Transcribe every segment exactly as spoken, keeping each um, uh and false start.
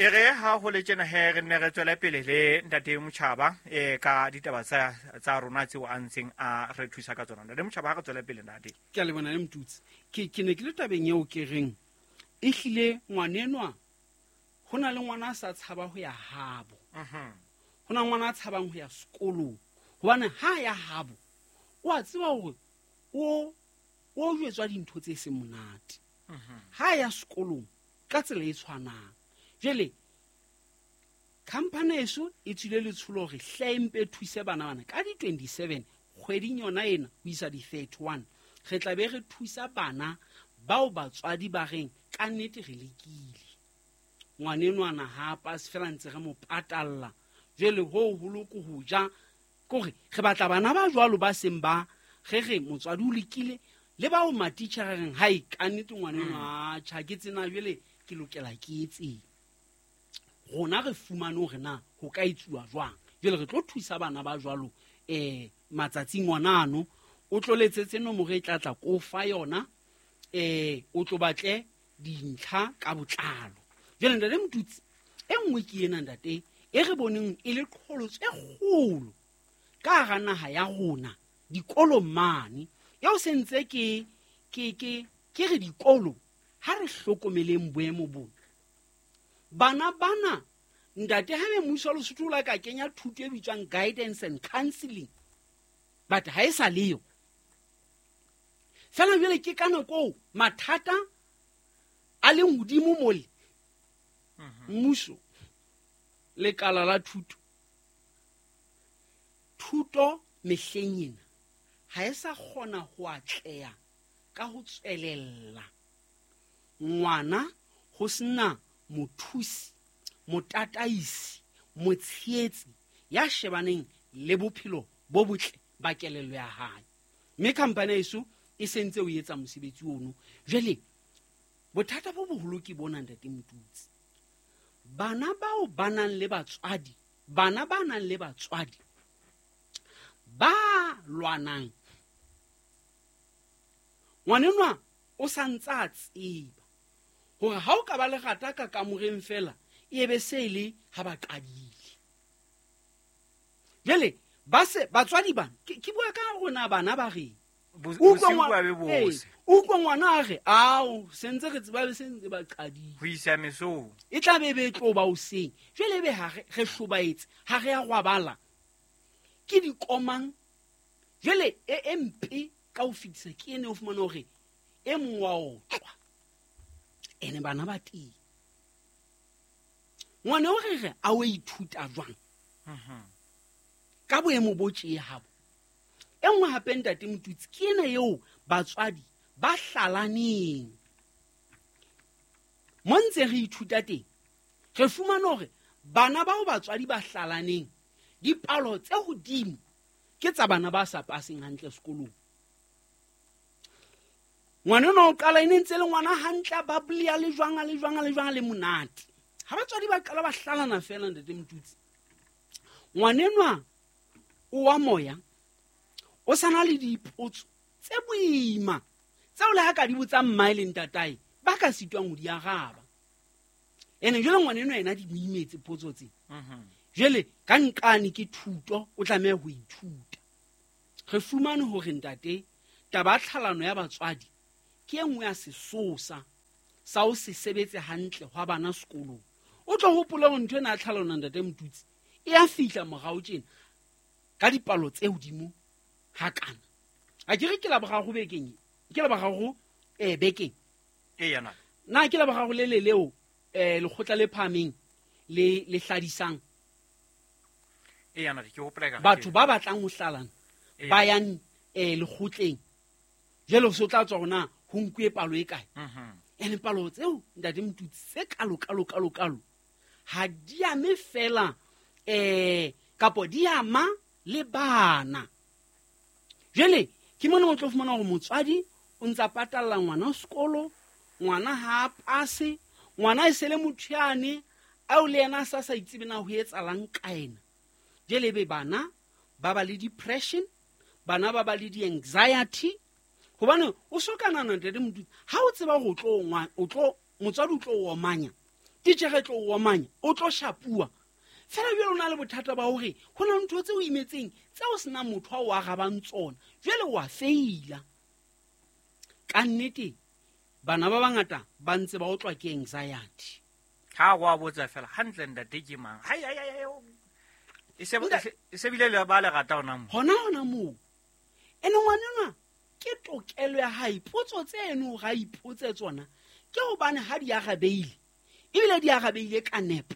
E re ha ho le tjena he re nne re tswele pele le ntate Motjhaba eh ka ditaba tsa tsa rona tseo a ntseng a re thusa ka tsona. Ntate Motjhaba, ha re tswele pele ntate. Ke a lebona le Motutsi. Ke ke ne ke le tabeng eo ke reng ehlile ngwanenwa ho na le ngwana a sa tshaba ho ya habo. Mhm. Ho na ngwana a tshabang ho ya sekolong. Hobane ha ya habo o a tseba hore o o jwetswa dintho tse seng monate. Mhm. Ha ya sekolong ka tsela e tshwanang. Jwale khampani eso e tswile letsholo hore hle mpe thuse bana bana ka di twenty-seven kgweding yona ena ho isa di thirty-one. Re tla be re thusa bana bao batswadi ba reng ka nnete re lekile. Ngwanenwana ha pass fela ntse re mo patalla. Jwale ho holo ke ho ja kore re batla bana ba jwalo ba seng ba re re motswadi o lekile le bao matitjhere reng hai ka nnete ngwanenwa a tjha ke tsena jwale ke lokela ke etseng. Rona re fumane hore na ho ka etsuwa jwang. Jwale re tlo thusa bana ba jwalo eh matsatsing ona ano o tlo letsetse nomoro e tla tla ko fa yona eh o tlo batle dintlha ka botlalo. Jwale ntate Motutsi e nngwe ke ena ntate e re boneng e le qholotso e kgolo ka hara naha ya rona dikolong mane eo sentse ke ke ke ke re dikolo ha re hlokomeleng boemo bona. Bana bana ntate ha be mmuso wa Lesotho o la ka kenya thuto e bitswang guidance and counseling but ha e sa leyo. Fela jwale ke ka nako eo mathata a leng hodimo mole. Mmuso lekala la thuto thuto mehleng ena ha e sa kgona ho atleha ka ho tswelella. Ngwana ho sena mothusi, motataisi, motshehetsi ya shebaneng le bophelo bo botle ba kelello ya hae. Mme khampani eso e sentse o etsa mosebetsi ono. Jwale bothata bo boholo ke bona ntate Motutsi. Bana bao ba nang le batswadi, bana ba nang le batswadi ba lwanang. Ngwanenwa o sa ntse a tseba hore ha o ka ba lerata ka kamoreng fela e be se le ha ba qadile. Jwale ba se batswadi bana ke, ke bua ka rona bana ba reng. Bo- Utlwa bosiu ngwa- ba be bose. Ee, utlwa ngwana a re, ao, sentse re tseba be sentse ba qadile. Ho isa mesong. E tla be be tlo ba hoseng. Jwale ebe ha re, re hlobaetse, ha re a rwabala. Ke dikomang. Jwale e, e mpe ka ho fetisa ke ene o fumana hore e mong wa otlwa. Ene bana ba teng. Ngwana o re re a o ithuta jwang? Mhm. Ka boemo bo tje habo. E nngwe hape ntate Motutsi ke ena eo batswadi ba hlalaneng. Mo ntse re ithuta teng, re fumana hore bana bao batswadi ba hlalaneng dipalo tse hodimo ke tsa bana ba sa paseng hantle sekolong. Ngwana enwa o qala e ne ntse le ngwana hantle, a bubbly, a le jwang, a le jwang, a le jwang, a le monate. Ha batswadi ba qala ba hlalana fela ntate Motutsi, ngwana enwa o wa moya o sa na le dipotso tse boima tseo le ha ka di botsa mmae le ntatae ba ka sitwang ho di araba. Ene jwale ngwana enwa yena di mo imetse potso tse. Mhm. Jwale ka nqane ke thuto o tlameha ho ithuta. Re fumane hore ntate taba ya tlhalano ya batswadi ke e nngwe ya sesosa sa ho se sebetse hantle hwa bana sekolong. O tlo hopola hore ntho ena ya tlhalano ntate Motutsi e a fihla morao tjena ka dipalo tse hodimo hakana. A ke re ke la boraro bekeng e? Ke la boraro, eh, bekeng. Eya, na. Na ke la boraro le le leo, eh, lekgotla le phahameng le, le hladisang? Eya, na, ke hopola ekare Batho ke ba batlang ho hlalana Eya. ba yang, eh, lekgotleng. Jwale ho se o tla tswa hore na ho nkuwe palo e kae. Mhm. Ene palo tseo ntate Motutsi tse kalo, kalo, kalo, kalo ha di ame fela, eh, kapo di ama le bana. Jwale ke mona o tlo fumana hore motswadi o ntsa patalla ngwana sekolo, ngwana ha a pase, ngwana e se le motho yane ao le yena a sa sa itsebe na ho etsahalang ka ena. Jwale ebe bana ba ba le depression, bana ba ba le di-anxiety, hobane o so ka nahana ntate Motutsi, ha o tseba hore o tlo ngwa-, o tlo, motswadi o tlo o omanya, Titjhere tlo o omanya, o tlo shapuwa. Fela jwale o na le bothata ba hore ho na ntho tse o imetseng tse o sena motho a o arabang tsona, jwale wa feila. Ka nnete bana ba bangata ba ntse ba otlwa ke anxiety. Ha wa botsa fela hantle ntate ke mang? Hai hai hai. E se e se bile le ba le rata ona mo. Hona hona moo. Ene ngwana ke tokelo ya hae, potso tseno ga ipotse tsona ke hobane ha di arabeile, ebile di arabeile ka nepo,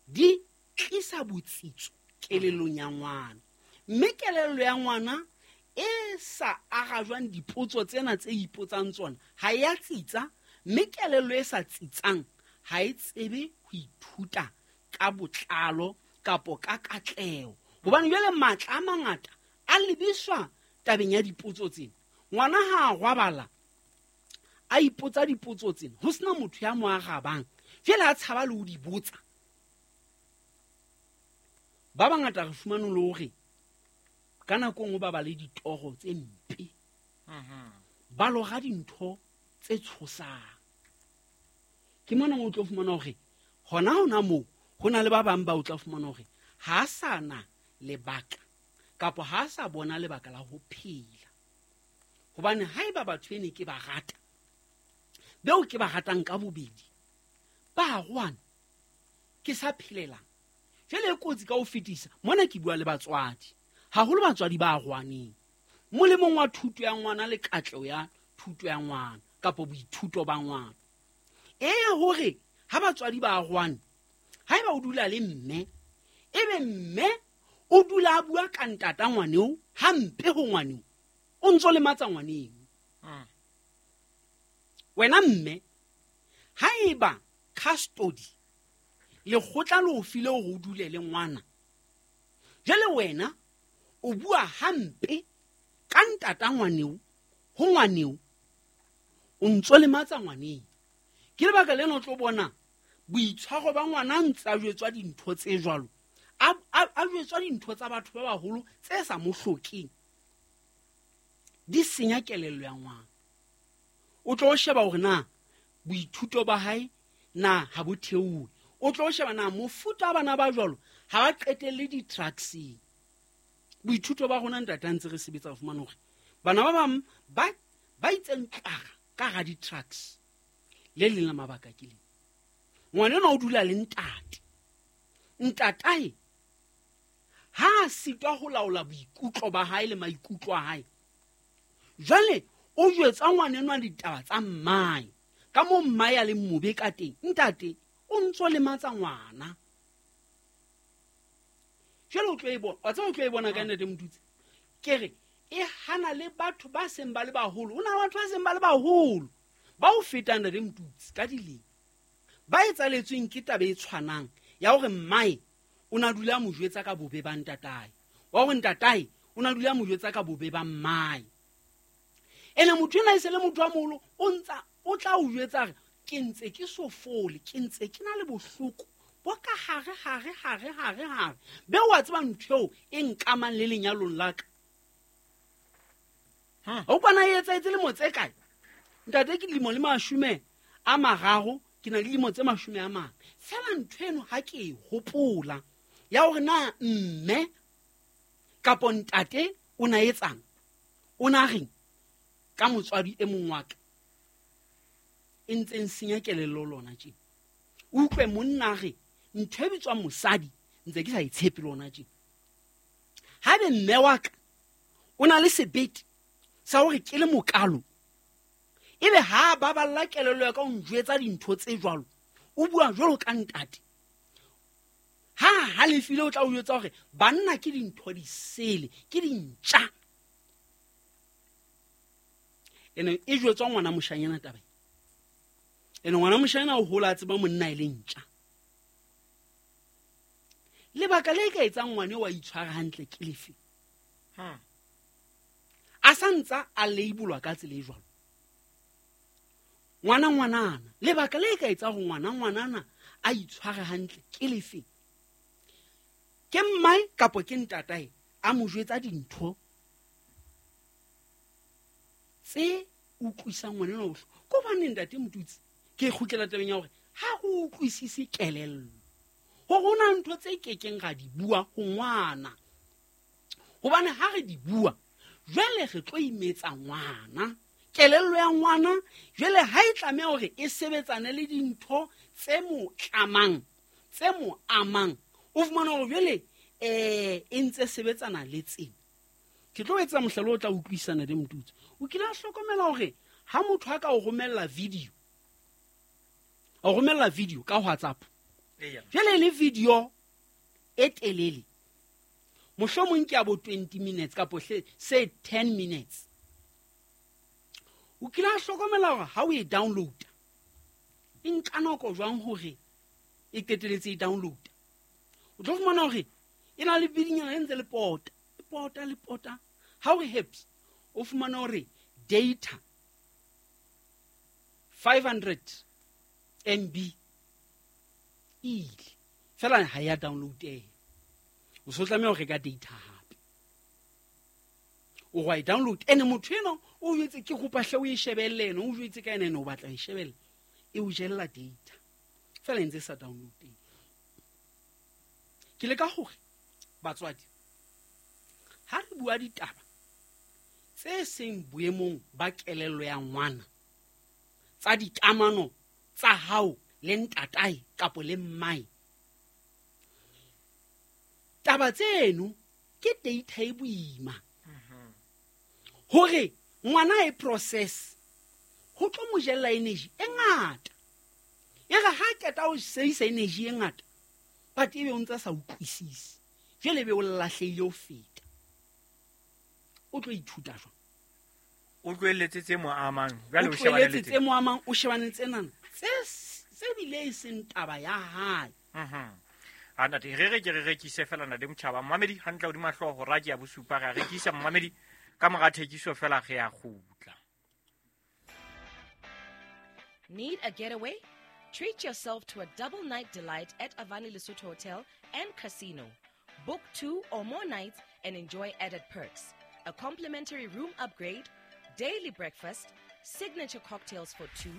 di tlisa botsitso kelellong ya ngwana. Mme kelello ya ngwana e sa arajwang dipotso tsena tse ipotsang tsona ha ya tsitsa, mme kelello e sa tsitsang ha e tsebe ho ithuta ka botlalo kapo ka katleho. Hobane jwale matla a mangata a lebiswa tabeng ya dipotso tsena. Ngwana ha a rwabala a ipotsa dipotso tsena, ho sena motho ya mo arabang, jwale a tshaba le ho di botsa. Ba bangata re fumane le hore ka nako nngwe ba ba le ditoro tse mpe, ba lora dintho tse tshosang. Ke mona mo o tlo fumana hore hona hona moo ho na le ba bang ba o tla fumana hore ha sa na lebaka kapa ha sa bona lebaka la ho phela. Hobane haeba batho ene ke ba rata, beo ke ba ratang ka bobedi, ba rwana ke sa phelelang. Jwale e kotsi ka ho fetisa mona ke bua le batswadi, haholo batswadi ba rwaneng molemong wa thuto ya ngwana le katleho ya thuto ya ngwana kapa boithuto ba ngwana. E ya hore ha batswadi ba rwane, haeba o dula le mme, ebe mme o dula a bua ka ntata ngwaneo hampe ho ngwaneo, o ntso lematsa ngwaneo. Wena mme, haeba custody lekgotla le o file hore o dule le ngwana, jwale wena o bua hampe ka ntata ngwaneo ho ngwaneo, o ntso lematsa ngwaneo. Ke lebaka lena o tlo bona boitshwaro ba ngwana ntse a jwetswa dintho tse jwalo, a a jwetswa dintho tsa batho ba baholo tse sa mo hlokeng, di senya kelello ya ngwana. O tlo sheba hore na boithuto ba hae na ha bo theohe, o tlo sheba na mofuta wa bana ba jwalo ha ba qetelle di-drugseng. Boithuto ba rona ntate ntse re sebetsa ho fumana hore bana ba bang ba ba itseng tlara ka ga di-drugs. Le leng la mabaka ke leng, ngwana enwa o dula le ntate, ntatae ha a sitwa ho laola boikutlo ba hae le maikutlo a hae, jwale o jwetsa ngwana enwa ditaba tsa mmae ka moo mmae a leng mobe ka teng. Ntate o ntso lematsa ngwana. Jwale o tlo e bona, wa tseba o tlo e bona ka nnete Motutsi. Ke re e hana le batho ba seng ba le baholo. Ho na le batho ba seng ba le baholo ba o fetang ntate Motutsi ka dilemo, ba etsaletsweng ke taba e tshwanang ya hore mmae o na dula mo jwetsa ka bobe ba ntatae, wa hore ntatae o na dula mo jwetsa ka bobe ba mmae. Ene motho ena e se le motho wa moholo, o ntsa o tla o jwetsa re ke ntse ke so fole, ke ntse ke na le bohloko bo ka hare hare hare hare hare. Be wa tseba ntho eo e nkamang le lenyalong la ka. O kwana e etsaetse lemo tse kae? Ntate ke dilemo le mashome a mararo, ke na le dilemo tse mashome a mane. Fela ntho eno ha ke e hopola ya hore na mme kapo ntate o na etsang, o na reng ka motswadi e mong wa ka, e ntse senya kelello lona tje. O utlwe monna re ntho e bitswang mosadi ntse ke sa e tshepe lona tje. Haebe mme wa ka o na le sebete sa hore ke le mokalo, ebe ha ba balla kelello ya ka o njwetsa dintho tse jwalo, o bua jwalo ka ntate, ha halefile o tla o jwetsa hore banna ke dintho di sele, ke dintja. Ene e jwetswa ngwana moshanyana taba. Ene ngwana moshanyana o hola a tseba monna e le ntja. Lebaka le ka etsang ngwane wa itshwara hantle ke lefe? Hmm. A sa ntsa a labelwa ka tsela e jwalo. Ngwana ngwanana, lebaka le ka etsa hore ngwana ngwanana a itshware hantle ke lefe? Ke mmae kapa ke ntatae a mo jwetsa dintho tse utlwisang ngwana enwa bohloko. Ko hobane ntate Motutsi, ke kgutlela tabeng ya hore Ha go utlwisise kelello gore go na ntho tse kekeng ga di bua go ngwana, gobane ga re di bua jwale re tlo imetsa ngwana. Kelello ya ngwana jwale ha e tlameha hore e sebetsane le dintho tse mo tlamang, tse mo amang, o fumana hore jwale um e ntse sebetsana le tsena. Ke tlo etsa mohlala o tla utlwisana le Motutsi. O kile a hlokomela hore ha motho a ka o romella video, o romella video ka WhatsApp, jwale le video e telele, mohlomong ke ya bo twenty minutes kapo se ten minutes, o kile a hlokomela hore ha o e download e nka nako jwang hore e qeteletse e download. O tlo fumana hore e na le bidinyana e ntse le pota, e pota le pota. Ha o re heps, o fumana hore data five hundred M B ile fela ha ya download. O so tlameha ho reka data hape, o wa e download. Ene motho eno o jwetse ke kopa hle o e shebelle, ene o jwetse ka ene ene o batla e shebelle, e o jella data fela e ntse sa download. Ke leka hore batswadi ha re bua ditaba tse seng boemong ba kelello ya ngwana, tsa dikamano tsa hao le ntatae kapo le mmae, taba tseno ke data e boima hore ngwana e process ho tlo mo jella energy e ngata. E re ha qeta ho sebedisa energy e ngata, but ebe o ntse sa utlwisise, jwale ebe o lahlehile ho feta. O tlo ithuta jwang? O tlohelletse tse mo amang, jwale o shebane le tse mo amang, o shebane tsenana tse tse bile e seng taba ya hae. Mhm. A ntate re re ke re rekise fela ntate Motjhaba. Mmamedi hantle hodima hlooho hora ke ya bosupa, re a rekisa mmamedi ka mora thekiso fela re ya kgutla. Need a getaway? Treat yourself to a double night delight at Avani Lesotho Hotel and Casino. Book two or more nights and enjoy added perks. A complimentary room upgrade, daily breakfast, signature cocktails for two,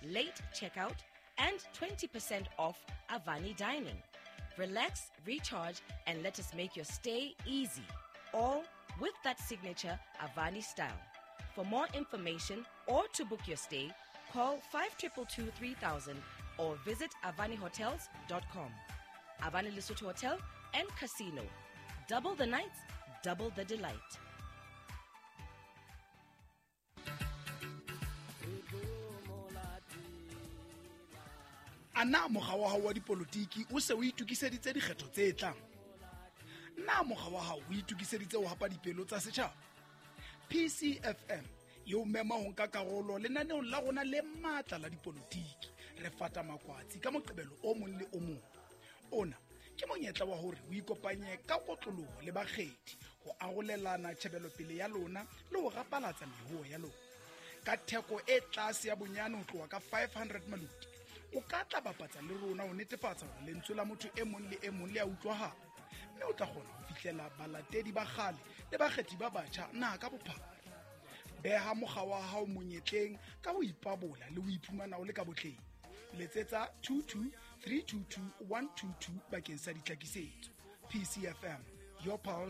late checkout, and twenty percent off Avani dining. Relax, recharge, and let us make your stay easy. All with that signature Avani style. For more information or to book your stay, call five two two two three thousand or visit avani hotels dot com. Avani Lesotho Hotel and Casino. Double the nights, double the delight. Ana mokga wa hao wa dipolotiki o se o itokiseditse dikgetho tse tlang? Na mokga wa hao o itokiseditse ho hapa dipelo tsa setjhaba? P C F M e o mema ho nka karolo lenaneong la rona le matla la dipolotiki. Re fata makwatsi ka Moqebelo o mong le o mong. Ona ke monyetla wa hore o ikopanye ka kotloloho le bakgethi ho arolelana tjhebelopele ya lona le ho rapalatsa mehoho ya lona. Ka theko e tlase ya bonyane ho tloha ka five hundred maluti, o ka tla bapatsa le rona ho netefatsa hore lentswe la motho e mong le e mong le a utlwahala, mme o tla kgona ho fihlela balatedi ba kgale le bakgethi ba batjha naha ka bophara. Beha mokga wa hao monyetleng ka ho ipabola le ho iphumana o le ka botleng. Letsetsa two two three two two one two two bakeng sa ditlhakisetso. P C F M, your pulse.